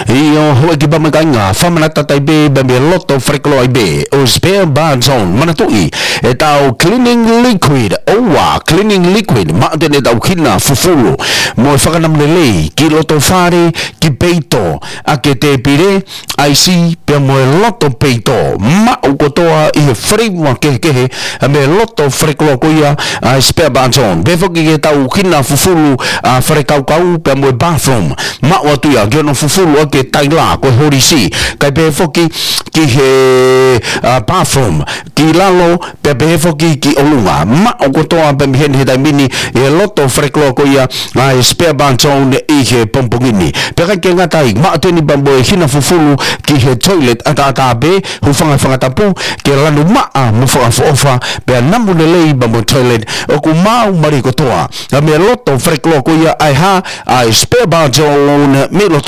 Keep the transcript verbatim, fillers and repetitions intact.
ʻIo, houʻeiki pea mo e kāinga, fakamanatu atu ai pē, pea mei loto falekoloa ai pē ʻo e Spare Bar Zone. Manatuʻi, ʻetau cleaning liquid, ʻoua, cleaning liquid, maʻu atu eni ʻetau hina fufulu mo e fakanamu lelei ki loto fale, ki peito, ʻaki e tēpile, ʻaisi, pea mo e loto peito, maʻu kotoa ʻi he flavor kehekehe, mei loto falekoloa ko ia ʻa e Spare Bar Zone. Pehē foki ki heʻetau hina fufulu, ʻa, falekaukau, pea mo e bathroom, maʻu atu ia ki hono fufulu ʻaki e taila ko e holisi, kae pehē foki ki he, ʻa, bathroom ki lalo, pea pehē foki ki ʻolunga. Maʻu kotoa pē mei heni he taimi ni ʻi he loto falekoloa ko ia ʻa e Spare Bar Zone ʻi he pongipongi ni. Pea ʻikai ke ngata ai, maʻu atu eni pea mo e hina fufulu ki he toilet ʻataʻatā pē, hūfanga he fanga tapu, ke lanu maʻa mo fakaʻofoʻofa, pea namu lelei pea mo e toilet, ʻoku maau mālie kotoa. ʻA, mei loto falekoloa ko ia ʻa e hā, ʻa e Spare Bar Zone mei loto